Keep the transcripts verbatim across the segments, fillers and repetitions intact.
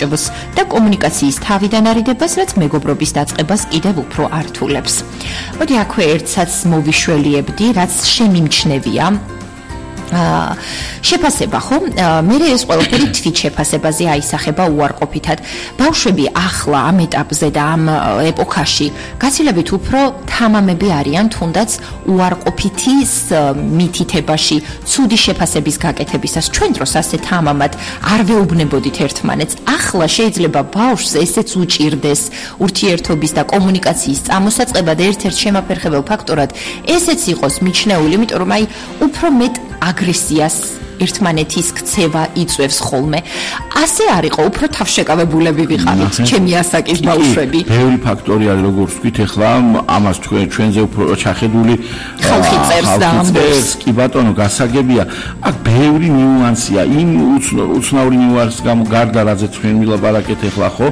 გამომჭროს და კომუნიკაციის თავიდან არიდებას, რაც მეგობრობის დაწყებას კიდევ უფრო ართულებს. მოდი აქვე ერთსაც მოვიშველიებდი, რაც შემიმჩნევია. აა შეფასება ხო? მე ეს ყველაფერი თვით შეფასებაზე აისახება უარყოფითად. ბავშვები ახლა ამ ეტაპზე და ამ ეპოქაში გაცილებით უფრო თამამები არიან, თუნდაც უარყოფითის მითითებაში, ცუდი შეფასების გაკეთებისას. ჩვენ დროს ასე თამამად არ ვეუბნებოდით ერთმანეთს. ახლა შეიძლება ბავშვს ესეც უჭირდეს ურთიერთობის და კომუნიკაციის წამოსაწყებად ერთ-ერთ შემაფერხებელ ფაქტორად ესეც იყოს მიჩნეული, იმიტომ რომ აი უფრო მეტ აგრესიას ერთმანეთის ქცევა იწვევს ხოლმე. ასე არ იყო, უფრო თავშეკავებულები ვიყავით, ჩემი ასაკის ბავშვები. ბევრი ფაქტორი არის, როგორც ვთქვით, ახლა ამას ჩვენ ჩვენზე უფრო ჩახედული ხალხი წერს და ამბობს. კი ბატონო, გასაგებია, აქ ბევრი ნიუანსია, იმ უცნაური ნიუანსის გამო გარდა რაზე ჩვენ ვილაპარაკეთ ახლა ხო,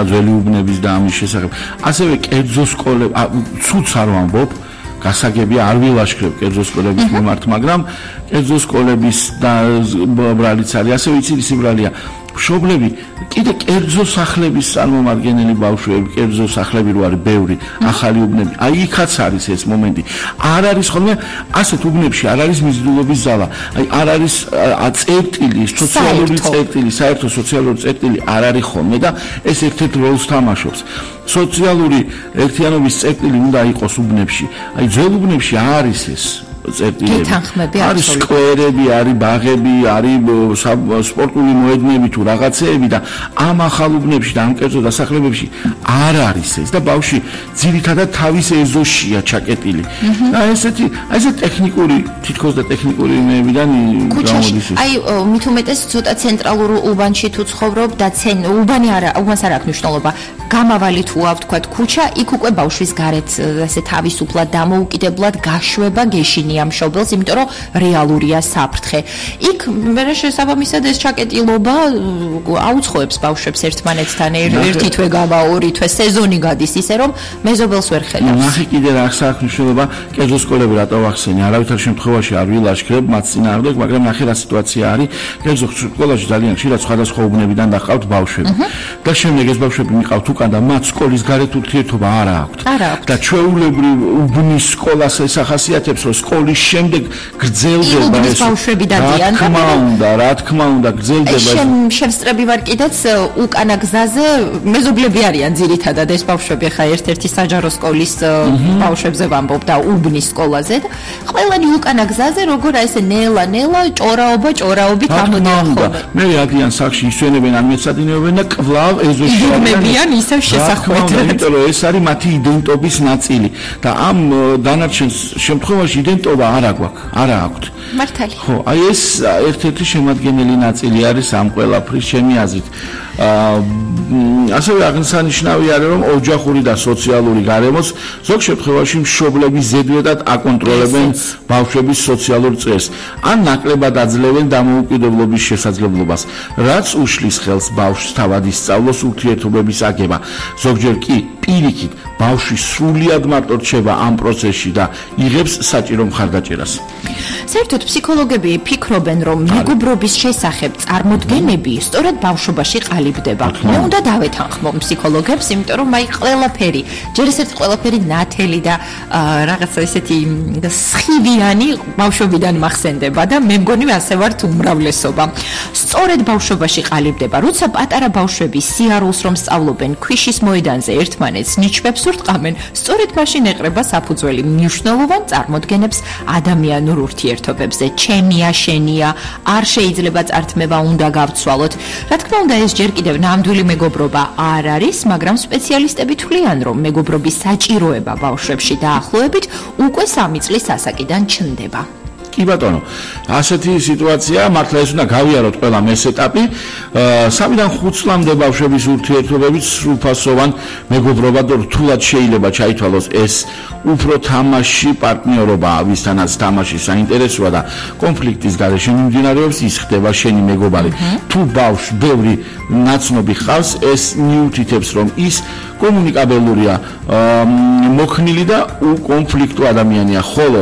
ძველი უბნების და ამის შესახებ. ასევე კერძო სკოლები, ცუდს არ ვამბობ, გასაგებია არ ვილაშქრებ კერძო სკოლების მიმართ, მაგრამ კერძო სკოლების და ბრალიც არის, ასევე იცი ის ბრალია. მშობლები, კიდე კერძო სახლების წარმომადგენელი ბავშვები, კერძო სახლები რო არის ბევრი, ახალი უბნები. აი იქაც არის ეს მომენტი. არ არის ხოლმე ასეთ უბნებში არ არის მიზიდულობის ზალა. აი არ არის წერტილი, სოციალური წერტილი, საერთო სოციალური წერტილი არ არის ხოლმე და ეს ერთ-ერთ როლს თამაშობს. სოციალური ერთიანობის წერტილი უნდა იყოს უბნებში. აი ძველ უბნებში არის ეს წერტილები. არის სკვერები, არის ბაღები, არის სპორტული მოედნები თუ რაღაცეები და ამ ახალ უბნებში და ამ კერძო დასახლებებში არ არის ეს და ბავშვი ძირითადად თავის ეზოშია ჩაკეტილი. და ესეთი, აი ეს ტექნიკური, თითქოს და ტექნიკური იმეებიდან გამოდის. აი მით უმეტეს ცოტა ცენტრალურ უბანში თუ ცხოვრობ და უბანი არა, უბანს არ აქვს მნიშვნელობა. გამავალი თუ ავთქვათ ქუჩა, იქ უკვე ბავშვის გარეთ ესე თავისუფლად დამოუკიდებლად გაშვება გეშინია მშობელს, იმიტომ რომ რეალურია საფრთხე. იქ მე შესაბამისად ეს ჩაკეტილობა აუცხოებს ბავშვებს ერთმანეთთან ერთი თვე გავა, ორი თვე სეზონი გადის ისე რომ მეზობელს ვერ ხედავს. ნახე კიდე რა აქვს მნიშვნელობა, კერძო სკოლები რატო ვახსენე, არავითარ შემთხვევაში არ ვილაშქრებ მათ წინააღმდეგ, მაგრამ ნახე რა სიტუაცია არის, კერძო სკოლაში ძალიან ხშირად სხვადასხვა უბნებიდან დაყავთ ბავშვები. და შემდეგ ეს ბავშვები მიყავთ უკან და მათ სკოლის გარეთ ურთიერთობა არ აქვთ. და ჩვეულებრივ უბნის სკოლას ეს ახასიათებს, რომ სკოლის შემდეგ გრძელდება ეს ბავშვები დადიან და რა თქმა უნდა, რა თქმა უნდა გრძელდება. შევსწრები ვარ კიდეც უკანა გზაზე მეზობლები არიან ძირითადად ეს ბავშვები, ხა ერთ-ერთი საჯარო სკოლის ბავშვებზე ვამბობ და უბნის სკოლაზე და ყველანი უკანა გზაზე როგორ ესე ნელა-ნელა ჭორაობა ჭორაობით ამოდიან ხოლმე. მე ადიან სახში ისვენებენ ან მეცადინეობენ და კვლავ ეზოში იღებიან ისევ შესახვედრად. იმიტომ რომ ეს არის მათი იდენტობის ნაწილი და ამ დანარჩენ შემთხვევაში იდენტობა არ აგვაქვს, არა აქვთ. მართალი. ხო, აი ეს ერთ-ერთი შემადგენელი ნაწილი არის ამ ყველაფრის ჩემი აზრით. აა ასევე აღსანიშნავი არის რომ ოჯახური და სოციალური გარემოც ზოგ შემთხვევაში მშობლები ზედმეტად აკონტროლებენ ბავშვების სოციალურ წესს ან ნაკლებად აძლევენ დამოუკიდებლობის შესაძლებლობას, რაც უშლის ხელს ბავშვს თავად ისწავლოს ურთიერთობების აგება. ზოგჯერ კი პირიქით ბავშვი სრულიად მარტო რჩება ამ პროცესში და იღებს საჭირო მხარდაჭერას. საერთოდ ფსიქოლოგები ფიქრობენ, რომ მეგობრობის შესახებ წარმოდგენები სწორედ ბავშვობაში ყალიბდება. მე უნდა დავეთანხმო ფსიქოლოგებს, იმიტომ რომ აი ყველაფერი, ჯერ ესეთი ყველაფერი ნათელი და რაღაცა ესეთი სხივიანი ბავშვობიდან მახსენდება და მე მგონი ასე ვართ უმრავლესობა. სწორედ ბავშვობაში ყალიბდება, როცა პატარა ბავშვები სიარულს რომ სწავლობენ ქვიშის მოედანზე ერთმანეთს ნიჩბებს ურტყამენ, სწორედ მაშინ ეყრება საფუძველი მნიშვნელოვან წარმოდგენებს ადამიანურ ურთიერთობებზე. ჩემია, შენია, არ შეიძლება წართმევა უნდა გავცვალოთ. რა თქმა უნდა, ეს ჯერ კიდევ ნამდვილი მეგობრობა არ არის, მაგრამ სპეციალისტები თვლიან, რომ მეგობრობის საჭიროება ბავშვებში დაახლოებით უკვე სამი წლის ასაკიდან ჩნდება. კი ბატონო, ასეთი სიტუაცია მართლა ეს უნდა გავიაროთ ყველა მეს ეტაპი. სამიდან ხუთ წლამდე ბავშვების ურთიერთობებით სრულფასოვან მეგობრობა და რთულად შეიძლება ჩაითვალოს ეს უფრო თამაში პარტნიორობაა, ვისთანაც თამაში საინტერესოა და კონფლიქტის გარეშე მიმდინარეობს, ის ხდება შენი მეგობარი. თუ ბავშვს ბევრი ნაცნობი ხავს, ეს მიუთითებს, რომ ის კომუნიკაბელურია, მოქნილი და უკონფლიქტო ადამიანია, ხოლო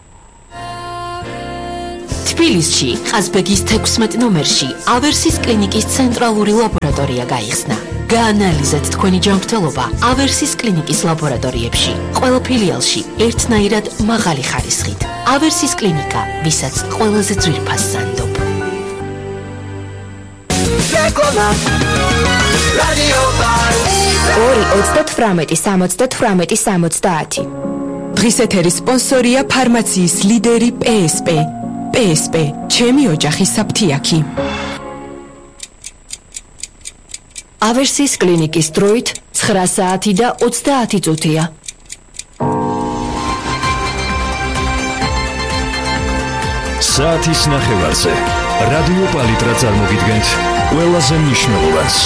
თბილისში, ყაზბეგის თექვსმეტ ნომერში ავერსის კლინიკის ცენტრალური ლაბორატორია გაიხსნა. გაანალიზეთ თქვენი ჯანმრთელობა ავერსის კლინიკის ლაბორატორიებში. ყველა ფილიალში ერთნაირად მაღალი ხარისხით. ავერსის კლინიკა, ვისაც ყველაზე ძვირფას სანდობ. ორი ოცდათვრამეტი სამოცდათვრამეტი სამოცდაათი. დღის ეთერის სპონსორია ფარმაციის ლიდერი პე ეს პე. პე ეს პე, ჩემი ოჯახის საფთიაქი. ავერსის კლინიკის დროით ცხრა საათი და ოცდაათი წუთია. საათის ნახევარზე რადიო პალიტრა წარმოგიდგენთ ყველაზე მნიშვნელოვანს.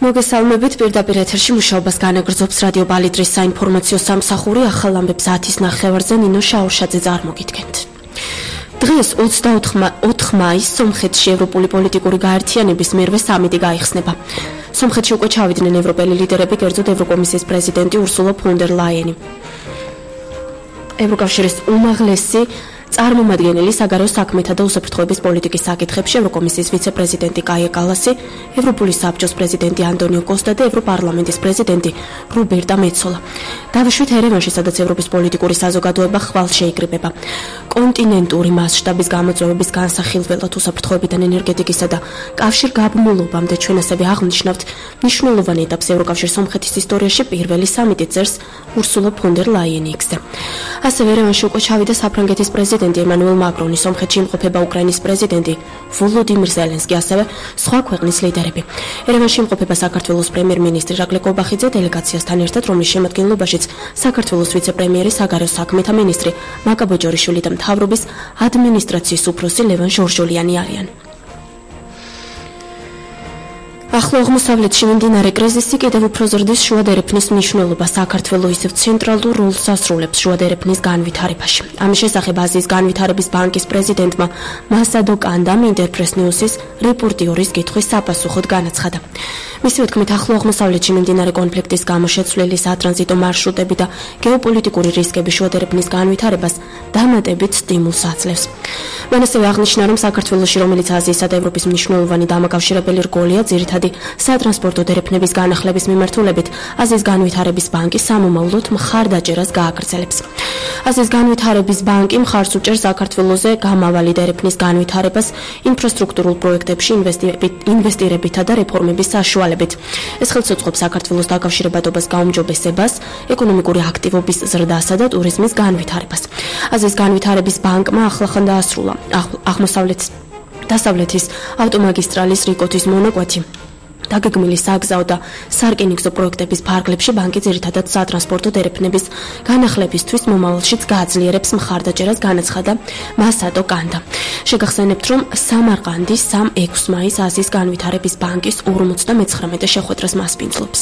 მოგესალმებით, პირდაპირ ეთერში მუშაობას განაგრძობს რადიო პალიტრის საინფორმაციო სამსახური. ახალ ამბებს საათის ნახევარზე ნინო შაურშაძე წარმოგიდგენთ. დღეს ოცდაოთხ მაისს სომხეთში ევროპული პოლიტიკური გაერთიანების მერვე სამიტი გაიხსნება. სომხეთში უკვე ჩავიდნენ ევროპელი ლიდერები, კერძოდ ევროკომისიის პრეზიდენტი ურსულა ფონ დერ ლაიენი. ევროკავშირის უმაღლესი წარმომადგენელი საგარეო საქმეთა და უსაფრთხოების პოლიტიკის საკითხებში ევროკომისიის ვიცე-პრეზიდენტი კაია კალასი, ევროპული საბჭოს პრეზიდენტი ანტონიო კოსტა და ევროპარლამენტის პრეზიდენტი რობერტა მეცოლა. დავიშვით ერევანში, სადაც ევროპის პოლიტიკური საზოგადოება ხვალ შეიკრიბება. კონტინენტური მასშტაბის გამოწვევების განსახილველად უსაფრთხოებიდან ენერგეტიკისა და კავშირგაბმულობამდე ჩვენ ასევე აღნიშნავთ მნიშვნელოვანი ეტაპს ევროკავშირის სომხეთის ისტორიაში პირველი სამიტი წერს ურსულა ფონ დერ ლაიენი იქს-ზე. ასევე ერევანში უკვე ჩავიდა საფრანგეთის პრეზიდენტი ემანუელ მაკრონი, სომხეთში იმყოფება უკრაინის პრეზიდენტი ვოლოდიმირ ზელენსკი, ასევე სხვა ქვეყნის ლიდერები. ერევანში იმყოფება საქართველოს პრემიერ-მინისტრი რაკლე კობახიძე დელეგაციასთან ერთად, რომლის შემადგენლობაშიც საქართველოს ვიცე-პრემიერი, საგარეო საქმეთა მინისტრი მაკა ბოჯორიშვილი და მთავრობის ადმინისტრაციის უფროსი ლევან ჟორჟოლიანი არიან. ახლო აღმოსავლეთში მიმდინარე კრიზისი კიდევ უფრო ზრდის შუადერეფნის მნიშვნელობა. საქართველოს ისევ ცენტრალურ როლს ასრულებს შუადერეფნის განვითარებაში. ამის შესახებ აზიის განვითარების ბანკის პრეზიდენტმა მასადო კანდამ ინტერპრეს ნიუსის რეპორტიორის კითხვის საპასუხოდ განაცხადა. მისივე თქმით, ახლო აღმოსავლეთში მიმდინარე კონფლიქტის გამო შეცვლილი სატრანზიტო მარშრუტები და გეოპოლიტიკური რისკები შუადერეფნის განვითარებას დამატებით სტიმულს აძლევს. მან ასევე აღნიშნა, რომ საქართველოში, რომელიც აზიისა და ევროპის მნიშვნელოვანი დამაკავშირებელი რგოლია, ძირითადად სატრანსპორტო დერეფნების განახლების მიმართულებით აზიის განვითარების ბანკი სამომავლოდ მხარდაჭერას გააგრძელებს. აზიის განვითარების ბანკი მხარს უჭერს საქართველოზე გამავალი დერეფნის განვითარებას ინფრასტრუქტურულ პროექტებში ინვესტირებითა და რეფორმების საშუალებით. ეს ხელს უწყობს საქართველოს დაკავშირებადობას, გაუმჯობესებას, ეკონომიკური აქტივობის ზრდასა და ტურიზმის განვითარებას. აზიის განვითარების ბანკმა ახლახან დაასრულა აღმოსავლეთის დასავლეთის ავტომაგისტრალის რიკოთის მონაკვეთი. დაგეგმილი საგზაო და სარკინიგზო პროექტების ფარგლებში ბანკი ძირითადად სატრანსპორტო დერეფნების განახლებისთვის მომავალშიც გააძლიერებს მხარდაჭერას, განაცხადა მასადო კანდა. შეგახსენებთ, რომ სამარყანდის სამ ექვსი მაისს აზიის განვითარების ბანკის ორმოცდამეცხრამეტე შეხვედრას მასპინძლობს.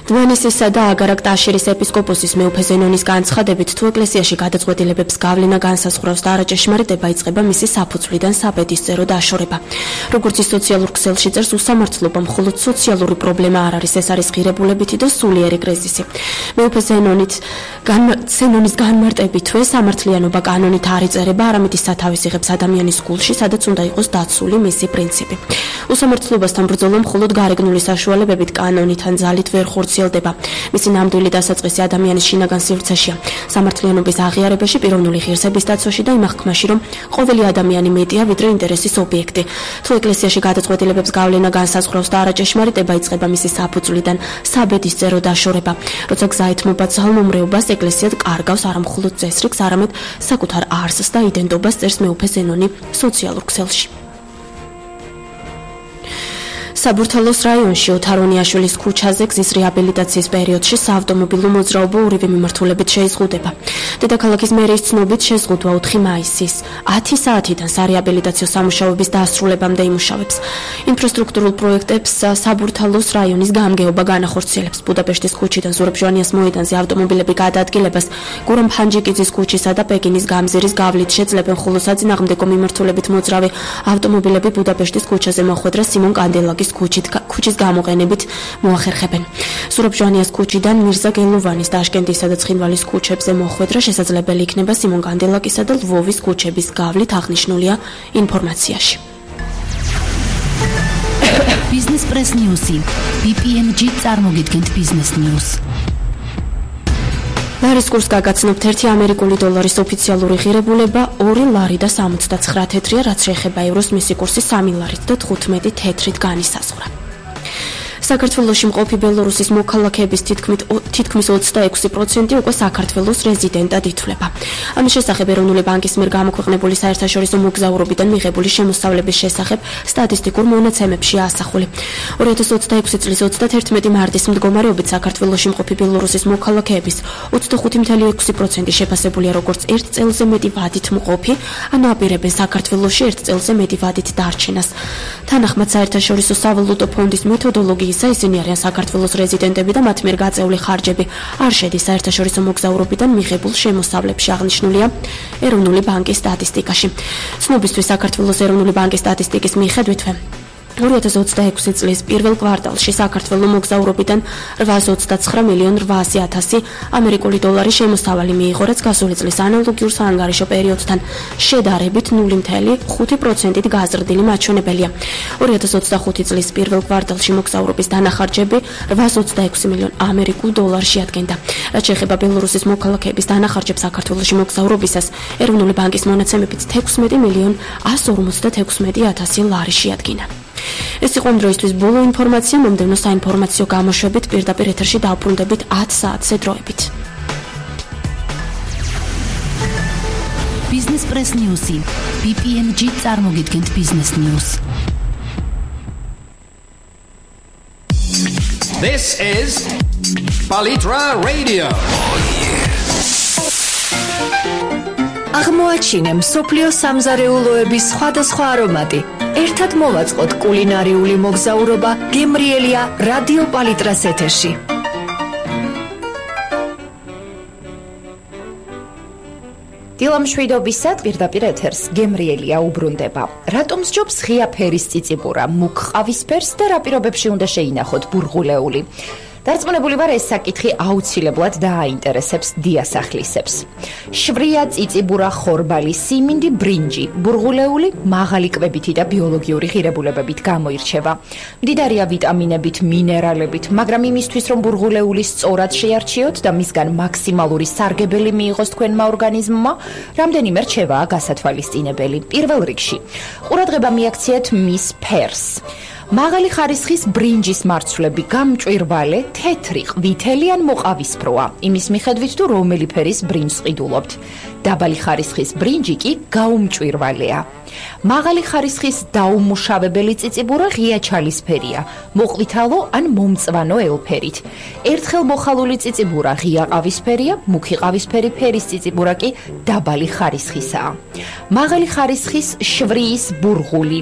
დმანისისა და აგარაკ-ტაშირის ეპისკოპოსის მეუფე ზენონის განცხადებით, თუ ეკლესიაში გადაწყვეტილებებს გავლენა განსაზღვრავს და არაჭეშმარიტება იწყება მისი საფუძვლიდან საბედისწერო დაშორება. როგორც ის სოციალურ ქსელში წერს, უსამართლობა მხოლოდ სოციალური პრობლემა არ არის, ეს არის ღირებულებითი და სულიერი კრიზისი. მეუფე ზენონით ზენონის განმარტებითვე სამართლიანობა კანონით არ იწერება, არამედ ის სათავეს იღებს ადამიანის გულში, სადაც უნდა იყოს დაცული მისი პრინციპი. უსამართლობასთან ბრძოლა მხოლოდ გარეგნული საშუალებებით კანონით ან ძალით ვერ ხორციელდება. მისი ნამდვილი დასაწყისი ადამიანის შინაგან სივრცეშია. სამართლიანობის აღიარებაში, პიროვნული ღირსების დაცვაში და იმ აღქმაში, რომ ყოველი ადამიანი მეტია ვიდრე ინტერესის ობიექტი. თუ ეკლესიაში გადაწყვეტილებებს გავლენა განსაზღვრავს და არაჭეშმარიტება იწყება მისი საფუძვლიდან, საბედისწერო დაშორება. როცა გზა ეთმობა ძალმომრეობას, ეკლესია კარგავს არა მხოლოდ წესრიგს, არამედ საკუთარ არსს და იდენტობას, წერს მეუფე ზენონი სოციალურ ქსელში. საბურთალოს რაიონში ოთარონიაშვილის ქუჩაზე გზის რეაბილიტაციის პერიოდში საავტომობილო მოძრაობა ორივე მიმართულებით შეიზღუდება. დედაქალაქის მერიის ცნობით შეზღუდვა ოთხი მაისის ათი საათიდან სარეაბილიტაციო სამუშაოების დასრულებამდე იმუშავებს. ინფრასტრუქტურულ პროექტებს საბურთალოს რაიონის გამგეობა განახორციელებს. ბუდაპეშტის ქუჩიდან ზურაბ ჟვანიას მოედანზე ავტომობილები გადაადგილებას გურამ ფანჯიკიძის ქუჩისა და პეკინის გამზირის გავლით შეძლებენ, ხოლო საწინააღმდეგო მიმართულებით მოძრავი ავტომობილები ბუდაპეშტის ქუჩაზე მოხვედრა სიმონ კანდელაკის ქუჩით ქუჩის გამოყენებით მოახერხებენ. ზურაბ ჟვანიას ქუჩიდან მირზა გელოვანის, ტაშკენტისა და ცხინვალის ქუჩებზე მოხვედრა შესაძლებელი იქნება სიმონ კანდელაკისა და ლვოვის ქუჩების გავლით, აღნიშნულია ინფორმაციაში. Business Press News-ი ბი პი ემ ჯი წარმოგიდგენთ Business News. ლარის კურსს გაგაცნობთ ერთი ამერიკული დოლარის ოფიციალური ღირებულება ორი ლარი და სამოცდაცხრა თეთრია, რაც შეეხება ევროს მისი კურსი სამი ლარით და თხუთმეტი თეთრით განისაზღვრა. საქართველოში მყოფი ბელორუსის მოქალაქეების თითქმის ოცდაექვსი პროცენტი უკვე საქართველოს რეზიდენტად ითვლება. ამის შესახებ ეროვნული ბანკის მიერ გამოქვეყნებული საერთაშორისო მოგზაურობიდან მიღებული შემოსავლების შესახებ სტატისტიკურ მონაცემებში ასახული. ორი ათას ოცდაექვსი წლის ოცდათერთმეტი მარტის მდგომარეობით საქართველოში მყოფი ბელორუსის მოქალაქეების ოცდახუთი წამლ ექვსი პროცენტი შეფასებულია როგორც ერთ წელზე მეტი ვადით მყოფი, ანუ აპირებენ საქართველოში ერთ წელზე მეტი ვადით დარჩენას. თანახმად საერთაშორისო სავალუტო ფონდის მეთოდოლოგიის ისინი არიან საქართველოს რეზიდენტები და მათ მიერ გაწეული ხარჯები არ შედის საერთაშორისო მოგზაურობიდან მიღებულ შემოსავლებში, აღნიშნულია ეროვნული ბანკის სტატისტიკაში. ცნობისთვის საქართველოს ეროვნული ბანკის სტატისტიკის მიხედვითვე ორი ათას ოცდაექვსი წლის პირველ კვარტალში საქართველოს მოგზაურობიდან რვაას ოცდაცხრა მილიონი რვაასი ათასი ამერიკული დოლარი შემოსავალი მიიღო, რაც გასული წლის ანალოგიურ საანგარიშო პერიოდთან შედარებით ნული წამლ ხუთი პროცენტით გაზრდილი მაჩვენებელია. ორი ათას ოცდახუთი წლის პირველ კვარტალში მოგზაურობის დანახარჯები რვაას ოცდაექვსი მილიონი ამერიკულ დოლარს შეადგენდა. რაც შეეხება ბელორუსის მოქალაქეების დანახარჯებს საქართველოში მოგზაურობისას, ეროვნული ბანკის მონაცემებით თექვსმეტი მილიონი ასი ორმოცდათექვსმეტი ათასი ლარი შეადგინა. ეს იყო ამ დროისთვის ბოლო ინფორმაცია. მომდევნო საინფორმაციო გამოშვებით პირდაპირ ეთერში დავბრუნდებით ათ საათზე დროებით. Business Press News-ი ბი პი ემ ჯი წარმოგიდგენთ Business News. This is Palitra Radio. აღმოაჩინე მსოფლიო სამზარეულოების სხვადასხვა არომატი. ერთად მოვაწყოთ კულინარიული მოგზაურობა გემრიელია რადიო პალიტრას ეთერში. დილამშვიდობისად პირდაპირ ეთერს გემრიელია უბრუნდება. რატომ სჯობს ღია ფერის წიწიბურა, მუქ ყავისფერს და რა პირობებში უნდა შეინახოთ ბურღულეული? დარწმუნებული ვარ, ეს საკითხი აუცილებლად დააინტერესებს დიასახლისებს. შვია წიწიბურა, ხორბალი, სიმინდი, ბრინჯი, ბურღულეული მაღალი კვებითი და ბიოლოგიური ღირებულებებით გამოირჩევა. მდიდარია ვიტამინებით, მინერალებით, მაგრამ იმისთვის, რომ ბურღულეული სწორად შეარჩიოთ და მისგან მაქსიმალური სარგებელი მიიღოს თქვენმა ორგანიზმმა, რამდენიმე რჩევაა გასათვალისწინებელი. პირველ რიგში, ყურადღება მიაქციეთ მის ფერს. მაღალი ხარისხის ბრინჯის მარცვლები გამჭვირვალე, თეთრი, ყვითელი ან მოყავისფროა, იმის მიხედვით თუ რომელი ფერის ბრინჯს ყიდულობთ. დაბალი ხარისხის ბრინჯი კი გაუმჭვირვალეა. მაღალი ხარისხის დაუმუშავებელი წიწიბურა ღია ჩალისფერია, მოყვითალო ან მომწვანო ელფერით. ერთხელ მოხალული წიწიბურა ღია ყავისფერია, მუქი ყავისფერი ფერის წიწიბურა კი დაბალი ხარისხისაა. მაღალი ხარისხის შვრის ბურღული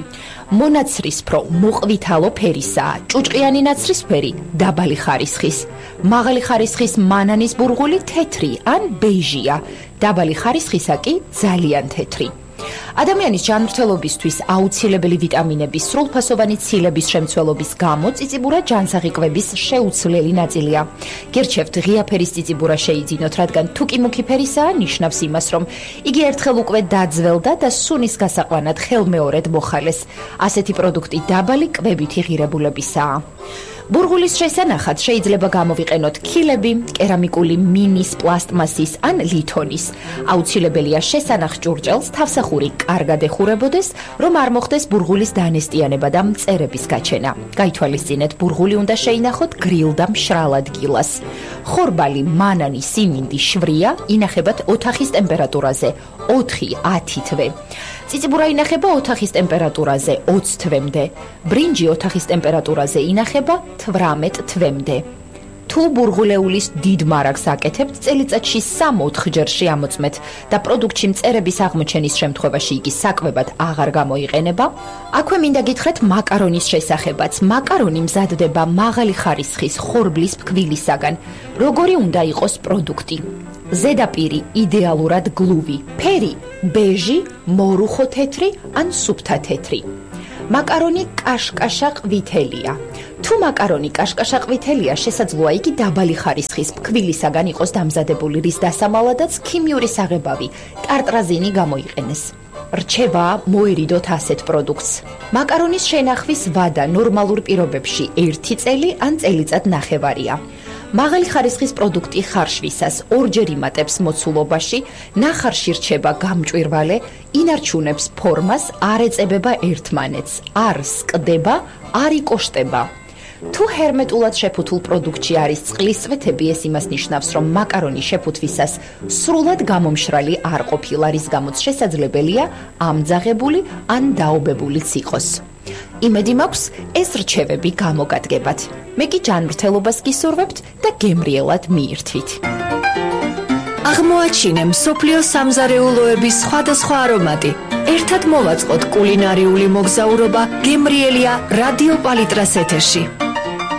მონაცრისფრო, მოყვითალო ფერისაა, ჭუჭყიანი ნაცრისფერი, დაბალი ხარისხის. მაღალი ხარისხის მანანის ბურღული თეთრი ან ბეიჟია, დაბალი ხარისხისა კი ძალიან თეთრი. ადამიანის ჯანმრთელობისთვის აუცილებელი ვიტამინების სრულფასოვანი ცილების შემცველობის გამო წიწიბურა ჯანსაღი კვების შეუცვლელი ნაწილია. გერჩევთ ღია ფერის წიწიბურა შეიძინოთ, რადგან თუ კი მუქი ფერისაა, ნიშნავს იმას, რომ იგი ერთხელ უკვე დაძველდა და სუნის გასაყვანად ხელმეორედ მოხალეს. ასეთი პროდუქტი დაბალი კვებითი ღირებულებისაა. ბურღულის შესანახად შეიძლება გამოვიყენოთ ქილები, კერამიკული მინის, პლასტმასის ან ლითონის. აუცილებელია შესანახ ჭურჭელს თავსახური კარგად ეხურებოდეს, რომ არ მოხდეს ბურღულის დანესტიანება და მწერების გაჩენა. გაითვალისწინეთ, ბურღული უნდა შეინახოთ გრილ და მშრალ ადგილას. ხორბალი, მანანი, სიმინდი, შვრია ინახებათ ოთახის ტემპერატურაზე ოთხი ათი თვე. ციციბურა ინახება ოთახის ტემპერატურაზე ოცი თვემდე. ბრინჯი ოთახის ტემპერატურაზე ინახება თვრამეტ თვემდე. თუ ბურღულეულის დიდ მარაგს აკეთებთ, წელიწადში სამ-ოთხ ჯერში ამოწმეთ და პროდუქტში მწერების აღმოჩენის შემთხვევაში იგი საკვებად აღარ გამოიყენება. აქვე მინდა გითხრათ მაკარონის შესახებაც. მაკარონი მზადდება მაღალი ხარისხის ხორბლის ფქვილისაგან. როგორი უნდა იყოს პროდუქტი? ზედაპირი იდეალურად გლუვი, ფერი ბეჟი, მორუხო თეთრი ან სუფთა თეთრი. მაკარონი კაშკაშა ყვითელია. თუ მაკარონი კაშკაშა ყვითელია, შესაძლოა იგი დაბალი ხარისხის ფქვილისაგან იყოს დამზადებული, რის დასამალადაც ქიმიური საღებავი, ტარტრაზინი გამოიყენეს. რჩევა მოერიდოთ ასეთ პროდუქტს. მაკარონის შენახვის ვადა ნორმალურ პირობებში ერთი წელი ან წელიწად ნახევარია. მაღალი ხარისხის პროდუქტი ხარშვისას ორჯერ იმატებს მოცულობაში, ნახარში რჩება გამჭვირვალე, ინარჩუნებს ფორმას, არ ეწებება ერთმანეთს, არ სკდება, არ იკოშტება. თუ ჰერმეტულად შეფუთულ პროდუქტში არის წყლის წვეთები, ეს იმას ნიშნავს, რომ მაკარონი შეფუთვისას სრულად გამომშრალი არ ყოფილა, რის გამოც შესაძლებელია ამძაღებული ან დაობებულიც იყოს. იმედი მაქვს, ეს რჩევები გამოგადგებათ. მე კი ჯანმრთელობას გისურვებთ და გემრიელად მიირთვით. აღმოაჩინე მსოფლიო სამზარეულოების სხვადასხვა არომატი. ერთად მოვაწყოთ კულინარიული მოგზაურობა გემრიელია რადიო პალიტრას ეთერში.